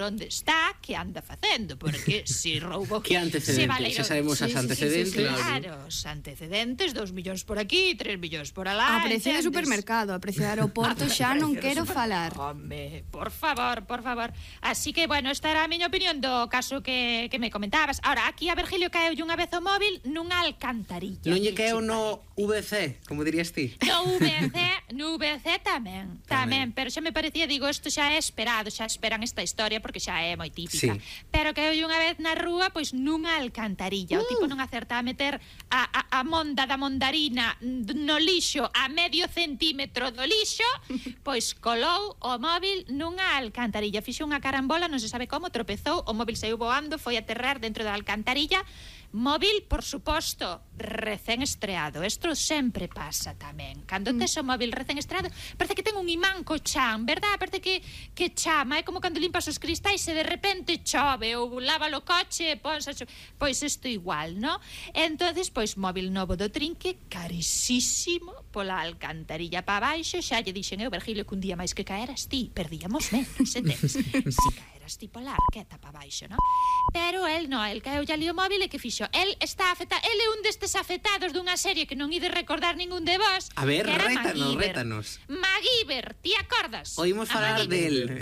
onde está, que anda facendo, porque se roubou... Que antecedentes, xa sabemos as antecedentes. Claro, os antecedentes, 2 millóns por aquí, 3 millóns por alá. A precio de supermercado, a precio de aeroporto xa non quero falar. Home, por favor. Así que, bueno, esta era a miña opinión do caso que me comentabas. Ahora, aquí a Virgilio caeu unha vez o móvil nunha alcantarilla. Non lle caeu no VC, como dirías ti? No VC tamén, pero xa me parecía, digo, isto xa é esperado, xa esperan esta historia porque xa é moi típica. Pero que eu unha vez na rúa, pois nunha alcantarilla. O tipo non acerta a meter a monda da mondarina no lixo a medio centímetro do lixo, pois colou o móvil nunha alcantarilla. Fixo unha carambola, non se sabe como, tropezou, o móvil saiu voando, foi a aterrar dentro da alcantarilla. Móvil, por suposto, recén estreado. Isto sempre pasa tamén. Cando tes o móvil recén estreado, parece que ten un imán co chan, verdad? Parece que chama, é como cando limpas os cristais e de repente chove ou lava o coche, pois isto igual, no? Entonces, pois móvil novo do trinque, carísimo, pola alcantarilla pa baixo. Xa lle dixen eu, Virgilio, que un día máis que caeras ti, perdíamos menos, entendes? Si caeras ti pola arqueta pa baixo, no? Pero el non, el caeu ali o móvil e que fixo? El está afectado, el é un destes afectados dunha serie que non ides recordar ningún de vos. A ver, rétanos. MacGyver, ti acordas? Oímos falar del,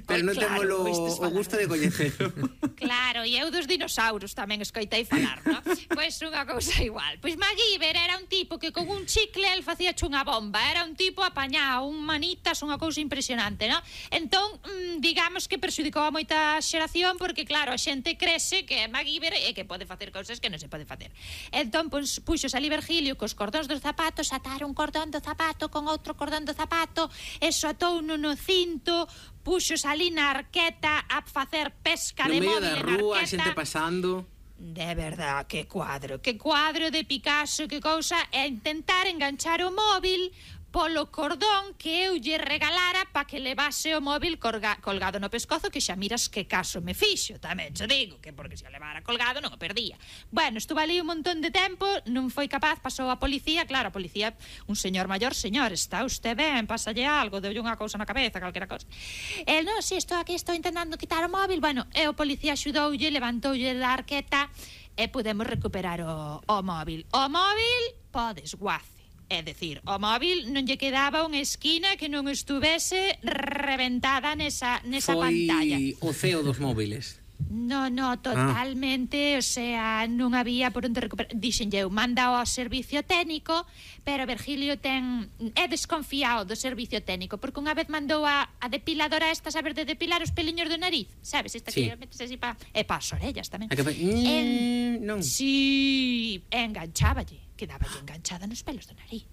pero non temos o gusto de coñecelo. Claro, e eu dos dinosaurios tamén escoitei falar, no? Pois unha cousa igual. Pois MacGyver era un tipo que con un chicle el facía unha bomba, era un tipo apañado, un manitas, unha cousa impresionante, no? Entón, digamos que perxudicou a moita xeración porque, claro, a xente crese que é MacGyver e que pode facer cousas que non se pode facer. Entón, puxos ali Virgilio cos cordóns dos zapatos, atar un cordón do zapato con outro cordón do zapato, e sotou no cinto, puxos ali na arqueta a facer pesca de móvil en arqueta. No medio da rúa, xente pasando. De verdad, que cuadro de Picasso, que cousa, é intentar enganchar o móvil polo cordón que eu lle regalara pa que levase o móvil colgado no pescozo, que xa miras que caso me fixo, tamén xa digo, que porque se o levara colgado non o perdía. Bueno, estuvo ali un montón de tempo, non foi capaz, pasou a policía, claro, a policía, un señor maior, señor, está usted ben, pásalle algo, deulle unha cousa na cabeza, calquera cousa. El, non, si, estou aquí, estou intentando quitar o móvil, bueno, e o policía axudoulle, levantoulle da arqueta e podemos recuperar o móvil. O móvil, podes, guace. É dicir, o móvil non lle quedaba unha esquina que non estuvese reventada nesa pantalla. Foi o ceo dos móviles. No, totalmente, o sea, non había por onde recuperar. Dixenlle eu, manda ao servicio técnico, pero Virgilio é desconfiado do servicio técnico, porque unha vez mandou a depiladora esta, saber de depilar os peliños do nariz, sabes? Esta que metes así e pa as orellas tamén. Non. Si, engancháballe, quedaballe enganchada nos pelos do nariz.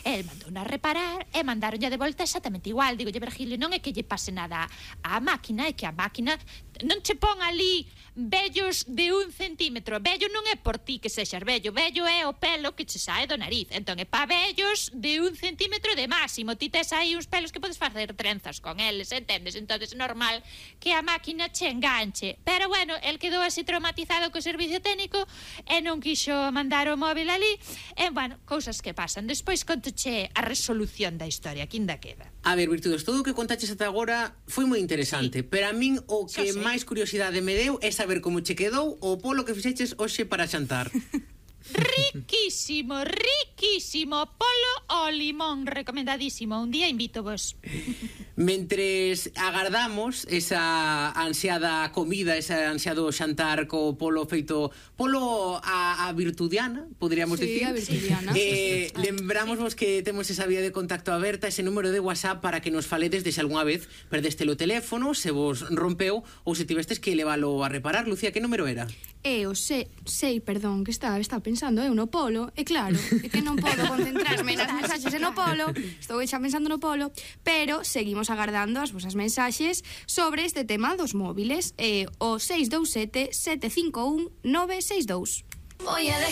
El mandou a reparar e mandaronlle de volta exactamente igual. Digolle, Virgilio, non é que lle pase nada á máquina, é que a máquina non che pon ali vellos de 1 centímetro. Vello non é por ti que sexas vello é o pelo que che sae do nariz. Entón é pa vellos de 1 centímetro de máximo. Ti tes aí uns pelos que podes facer trenzas con eles, entendes? Entón é normal que a máquina che enganche. Pero bueno, el quedou así traumatizado co servicio técnico e non quixo mandar o móvil ali. E bueno, cousas que pasan. Despois contoche a resolución da historia, que ainda queda. A ver, Virtudes, todo o que contaches ata agora foi moi interesante, pero a min o que máis curiosidade me deu é saber como che quedou o polo que fixeches hoxe para xantar. Riquísimo polo ao limón, recomendadísimo. Un día invito vos. Mentres agardamos esa ansiada comida, ese ansiado xantar co polo feito polo a virtudiana, poderíamos dicir. Sí, a virtudiana. Lembramos que temos esa vía de contacto aberta, ese número de WhatsApp para que nos faledes de se algunha vez perdeste o teléfono, se vos rompeu ou se tivestes que levalo a reparar. Lucía, que número era? Perdón, que está pensando eu no polo, e claro, é que non podo concentrarme nas mensaxes no polo, estou xa pensando no polo, pero seguimos agardando as vosas mensaxes sobre este tema dos móviles, o 627 751 962. Voy a